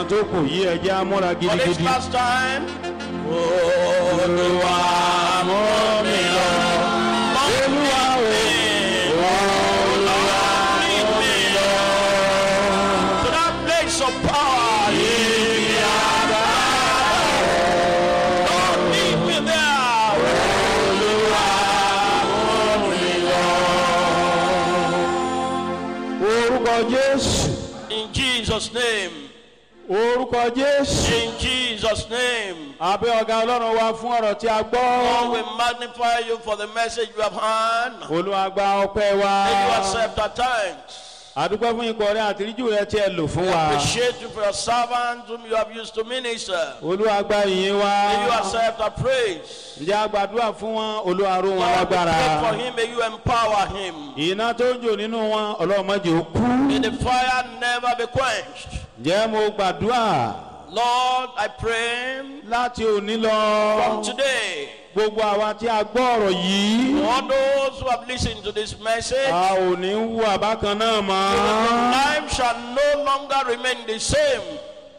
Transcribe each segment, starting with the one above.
Tó kù yí, ẹ jẹ́ á múra For this gidigidi. last time. Olúwa, mú mi lọ. Olúwa o. Olúwa, Lead me to that place of power. Yìí àgbà. Lord, lead me there. Olúwa, mú mi lọ. Orúkọ Jésù. In Jesus' name. Orúkọ Jésù. In Jesus' name. A gbé ọ̀gá, Ọlọ́run wa, fún ọ̀rọ̀ tí a gbọ́. Lord, we magnify you for the message you have heard. Olúwa, gba ọpẹ́ wa. May you accept our thanks. A dúpẹ́ fún ikọ̀ rẹ àtìríjù rẹ tí ẹ lò fún wa. Appreciate you for your servants whom you have used to minister. Olúwa, gba ìyìn wa. May you accept our praise. Ǹjẹ́ a gbàdúrà fún wọn? Olúwa, ró wọn Lord, we lágbára. pray for him. May you empower him. Iná tó ń jò nínú wọn, Ọlọ́run, má jẹ́ ó kú. May the fire never be quenched. Ǹjẹ́ mo gbàdúrà, Lord, I pray láti òní lọ, from today, gbogbo àwa tí a gbọ́ ọ̀rọ̀ yìí, all those who have listened to this message, a ò ní wù bákan náà mọ́. life shall no longer remain the same.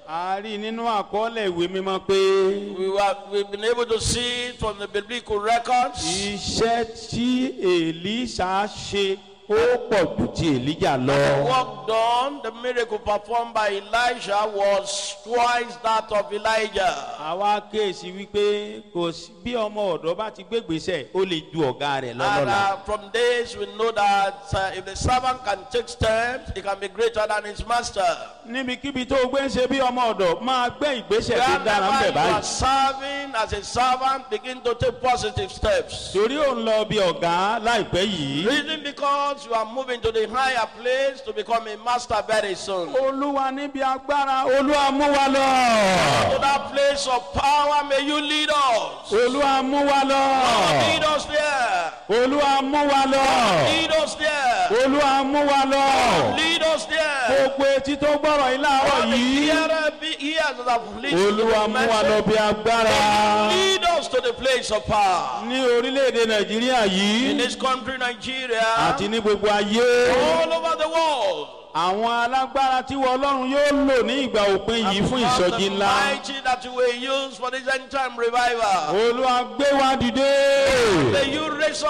A rí nínú àkọọ́lẹ̀ ìwé mímọ́ pé We've been able to see it from the biblical records. iṣẹ́ tí Èlíṣà ṣe, ó pọ̀ jù ti Èlíjà lọ. Work done, the miracle performed by Elijah was twice that of Elijah. Àwa kíyèsí wípé kò sí bí ọmọ ọ̀dọ́ bá ti gbégbèésẹ̀, ó lè ju ọ̀gá rẹ̀ And lọ́lọ́la. From this, we know that if the servant can take steps, he can be greater than his master. Níbikíbi tó o gbé ń ṣe bí ọmọ ọ̀dọ̀, máa gbé ìgbésẹ̀ tó dára ń Wherever bẹ̀ you are báyìí. serving as a servant, begin to take positive steps. Torí ò ń lọ bí ọ̀gá láìpẹ́ yìí. Reason, because you are moving to the higher place to become a master very soon. Olúwa, níbi agbára, Olúwa, mú wa lọ. To that place of power, may you lead us. Olúwa, mú wa lọ. Lead us there. Olúwa, mú wa lọ. Lead us there. Olúwa, mú wa lọ. Lead us there. Gbogbo etí tó gbọ́rọ̀ yìí láàárọ̀ All the yìí, hearer be ears that have listened to Olúwa, the mú wa lọ message. bí agbára. Lead us to the place of power. Ní orílẹ̀-èdè Nàìjíríà yìí In this country, Nigeria, àti ní gbogbo ayé, all over the world. àwọn alágbára tí wọ́n Ọlọ́run yóò lò ní ìgbà òpin yìí fún ìsọjí The ńlá, mighty that you will use for this end time revival. Olúwa, gbé wa dìde. May you raise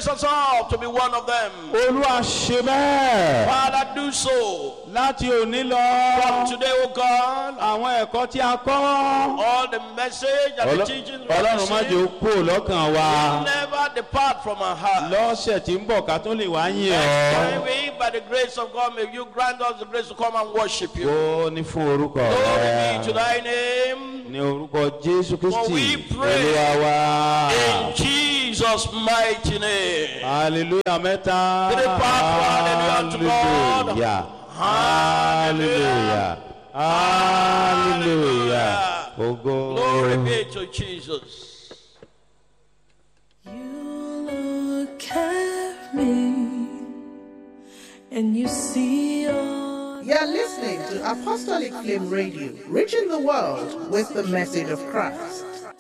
us up to be one of them. Olúwa, ṣe bẹ́ẹ̀. Father, do so. Láti òní lọ, From today, O God, àwọn ẹ̀kọ́ tí a kọ́, all the message and the teachings we have Ọlọ́run, má jẹ́ ó received kúrò lọ́kàn wa. never depart from our heart. Lọ́sẹ̀ tí ń bọ̀, ká tó lè wá yìn Next ọ́. time we, by the grace of God, may you grant us the grace to come and worship you. Ó ní fún orúkọ Glory be to rẹ. thy name. Ní orúkọ Jésù For Kristi we pray. Olúwa wa. In Jesus' mighty name. Hallelujah mẹ́ta. Three part, hallelujah to God. Hallelujah. Hallelujah. Hallelujah. Ògo. Glory be to Jesus. You look at me and you see all. You're listening to Apostolic Flame Radio, reaching the world with the message of Christ.